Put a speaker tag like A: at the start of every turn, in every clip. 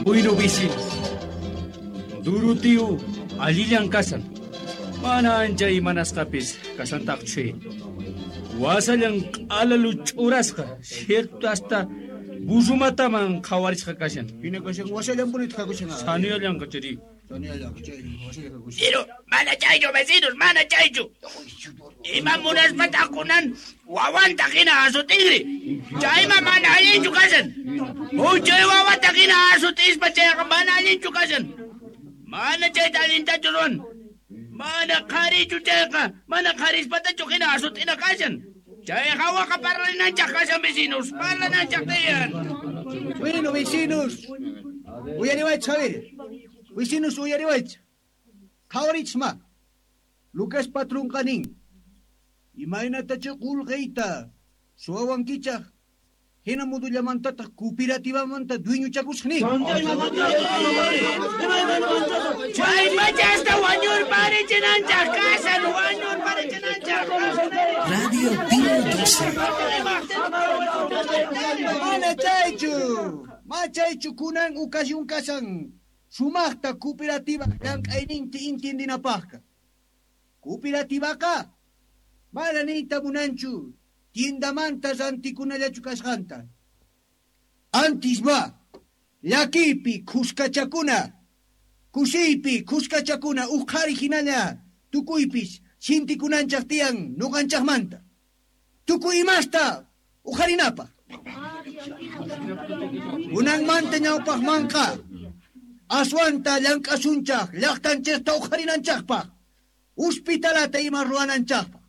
A: Bueno, vecinos. Durutiu allillan kasan. Mana ancha imanasqapis kasantaqchu. Wasallan q'alalu ch'urasqa, cierto hasta burrumataman qhawarisqa kashan.
B: Hina kashan wasallanpunitaq kakushan.
A: Sanuyallanqa chari.
B: Sanuyallanqa chay wasalla kakushan.
C: Pero mana chaychu vecinos, mana chaychu. Ima munaspataq kunan wawanta hina asutinri. Chayma mana allinchu kashan. Huchay wawata hina asutispa chayqa mana allinchu kashan. Mana chayta allintachu ruwan. Mana qharichu chayqa, mana qharispatachu hina asutina kashan. Chay hawaqa parlananchaq kashan vecinos, parlananchaq tiyan.
B: Bueno, vecinos. Uyariwaychis, Javier. Vecinos uyariwaychis. Qhawarichis ma. Lucas patronqa nin. Imaynatacha qulqiyta suwawankichaq hina modullamantataq cooperativamanta dueñochakusaq nin.
C: Chay pachasta wañurparichinanchaq kashan, wañurparichinanchaq.
D: Radio Pío 12.
B: Mana chaychu. Ma chaychu kunan ocasión kashan. Sumaqta cooperativa llank'ayninta intindinapaqqa. Cooperativaqa mana niyta munanchu tiendamanta rantikunallachu kasqanta. Antis ma llakiypi khuskachakuna, kusiypi khuskachakuna uj qhari hinalla tukuypis sintikunanchaq tiyan nuqanchaqmanta. Tukuy imasta uqharinapaq. Kunanmanta ñawpaqmanqa aswanta llank'asunchaq llaqtanchikta uqharinanchaqpaq, hospitalata ima ruwananchaqpaq.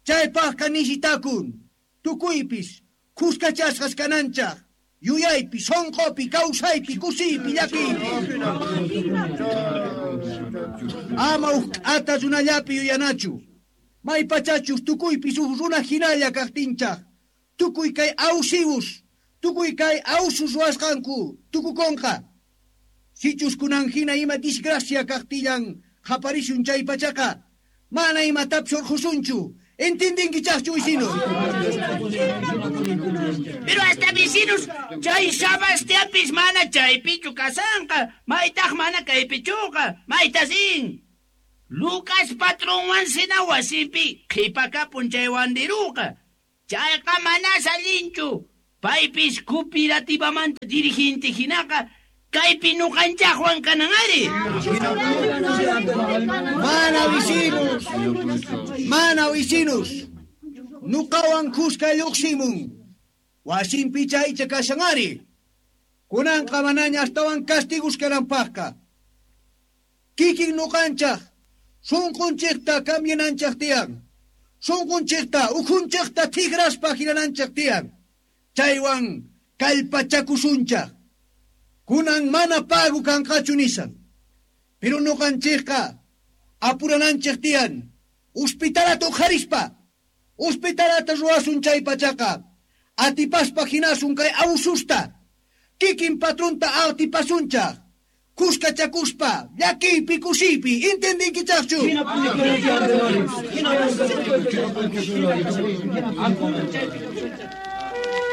B: Chaypaqqa nisitakun tukuypis khuskachasqas kananchaq, yuyaypi, sunqupi, kawsaypi, kusiypi, llakiypi. Ama uj k'ata runallapi yuyanachu. Maypachachus tukuypis uj runa hinalla kaqtinchaq, tukuy kay awsiwus, tukuy kay awsus ruwasqanku tukukunqa. Sichus kunan hina ima disgracia kaqtillan qhaparisun chay pachaqa, mana imatapis urqusunchu. Entendinkichaqchu vecinos?
C: Pero hasta vecinos, chay Sebastianpis mana chaypichu kasanqa, maytaq mana kaypichuqa, maytasin. Lucas patronwan sina wasinpi qhipakapun chay wandiruqa. Chayqa manas allinchu. Paypis cooperativamanta dirigente hinaqa kaypi nuqanchaqwan kanan ari.
B: Mana vecinos, mana vecinos. Nuqawan khuska lluqsimun. Wasinpi chaycha kashan ari. Kunanqa manaña astawan castigus kananpaqqa. Kikin nuqanchaq sunqunchikta cambiananchaq tiyan. Sunqunchikta ukhunchikta tigraspa hinananchaq tiyan. Chaywan kallpachakusunchaq. Kunan mana pago kanqachu nisan. Pero nuqanchikqa apurananchik tiyan. Hospitalata uqharispa. Hospitalata ruwasun chay pachaqa. Atipaspa hinasun kay abususta. Kikin patronta atipasunchaq. Khuskachakuspa, llakiypi, kusiypi, entendinkichaqchu?